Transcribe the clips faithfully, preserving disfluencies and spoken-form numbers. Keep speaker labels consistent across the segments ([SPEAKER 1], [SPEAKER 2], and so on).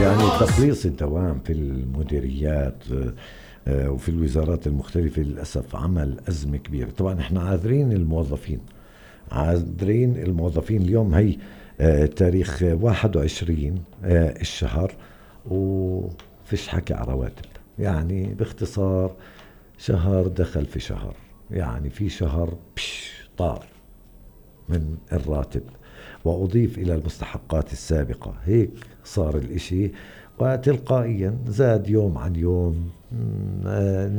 [SPEAKER 1] يعني تقليص الدوام في المديريات وفي الوزارات المختلفة للأسف عمل أزمة كبيرة. طبعا احنا عاذرين الموظفين عاذرين الموظفين اليوم هي تاريخ واحد وعشرين الشهر وفيش حكي على رواتب. يعني باختصار شهر دخل في شهر، يعني في شهر بش طار من الراتب وأضيف إلى المستحقات السابقة. هيك صار الإشي وتلقائيا زاد يوم عن يوم،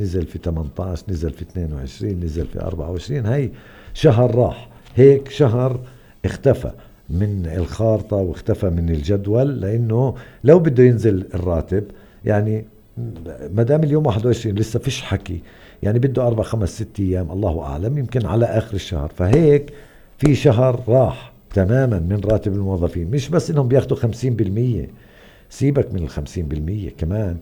[SPEAKER 1] نزل في ثمانية عشر، نزل في اثنين وعشرين، نزل في أربعة وعشرين. هاي شهر راح، هيك شهر اختفى من الخارطة واختفى من الجدول. لأنه لو بده ينزل الراتب يعني مدام اليوم واحد وعشرين لسه فيش حكي، يعني بده أربع خمس ست أيام الله أعلم، يمكن على آخر الشهر. فهيك في شهر راح تماما من راتب الموظفين. مش بس إنهم بياخدوا خمسين بالمية، سيبك من الخمسين بالمية كمان،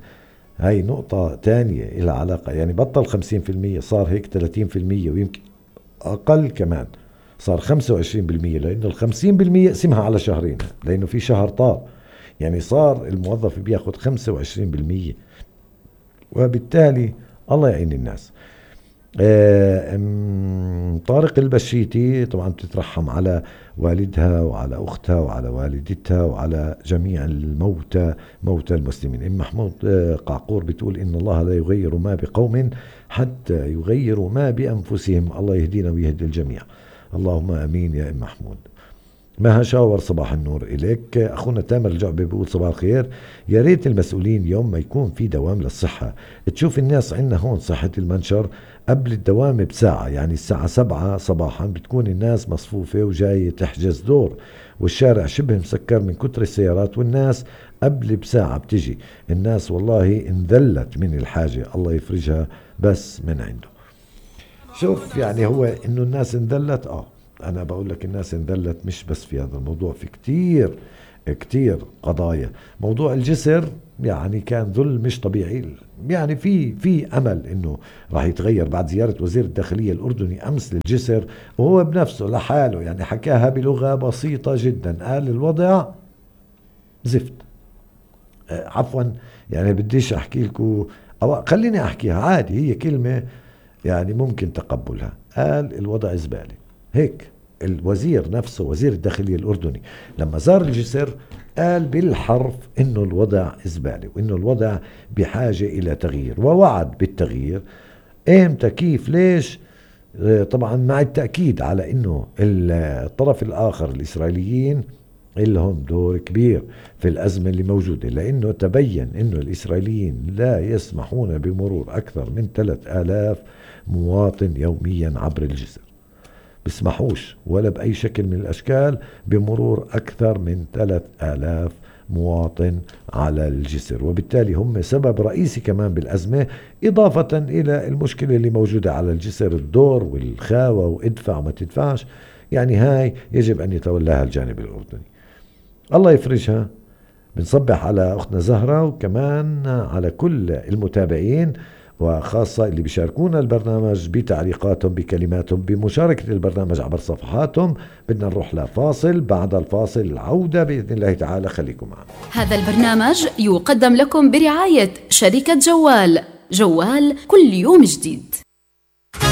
[SPEAKER 1] هاي نقطة تانية إلى علاقة. يعني بطل خمسين بالمية، صار هيك ثلاثين بالمية ويمكن أقل كمان، صار خمسة وعشرين بالمية. لأنه الخمسين بالمية اسمها على شهرين، لأنه في شهر طار. يعني صار الموظف بياخد خمسة وعشرين بالمية، وبالتالي الله يعين الناس. طارق البشيتي طبعا بتترحم على والدها وعلى أختها وعلى والدتها وعلى جميع الموتى موتى المسلمين. إم محمود قعقور بتقول إن الله لا يغير ما بقوم حتى يغيروا ما بأنفسهم. الله يهدينا ويهدي الجميع، اللهم أمين يا إم محمود. ما هشاور صباح النور إليك. أخونا تامر الجعبي بيقول صباح الخير، يا ريت المسؤولين يوم ما يكون في دوام للصحة تشوف الناس عندنا هون صحة المنشر قبل الدوام بساعة، يعني الساعة سبعة صباحا بتكون الناس مصفوفة وجاية تحجز دور، والشارع شبه مسكر من كتر السيارات، والناس قبل بساعة بتجي. الناس والله انذلت من الحاجة، الله يفرجها بس من عنده. شوف يعني هو إنه الناس انذلت، آه أنا بقول لك الناس انذلت مش بس في هذا الموضوع، في كتير كتير قضايا. موضوع الجسر يعني كان ذل مش طبيعي. يعني في في أمل إنه راح يتغير بعد زيارة وزير الداخلية الأردني أمس للجسر، وهو بنفسه لحاله يعني حكاها بلغة بسيطة جدا، قال الوضع زفت. آه عفوا يعني بديش أحكي لكم أو خليني أحكيها عادي، هي كلمة يعني ممكن تقبلها. قال الوضع زبالة. هيك الوزير نفسه وزير الداخلية الأردني لما زار الجسر قال بالحرف إنه الوضع زبالة وإنه الوضع بحاجة إلى تغيير، ووعد بالتغيير. إمتى كيف ليش؟ طبعا مع التأكيد على إنه الطرف الآخر الإسرائيليين لهم دور كبير في الأزمة اللي موجودة، لأنه تبين إنه الإسرائيليين لا يسمحون بمرور أكثر من ثلاثة آلاف مواطن يوميا عبر الجسر، بيسمحوش ولا بأي شكل من الأشكال بمرور أكثر من ثلاثة آلاف مواطن على الجسر، وبالتالي هم سبب رئيسي كمان بالأزمة، إضافة إلى المشكلة اللي موجودة على الجسر، الدور والخاوة وادفع وما تدفعش. يعني هاي يجب أن يتولاها الجانب الأردني، الله يفرجها. بنصبح على أختنا زهرة وكمان على كل المتابعين، وخاصة اللي بيشاركونا البرنامج بتعليقاتهم بكلماتهم بمشاركة البرنامج عبر صفحاتهم. بدنا نروح لفاصل، بعد الفاصل العودة بإذن الله تعالى، خليكم معنا.
[SPEAKER 2] هذا البرنامج يقدم لكم برعاية شركة جوال، جوال كل يوم جديد.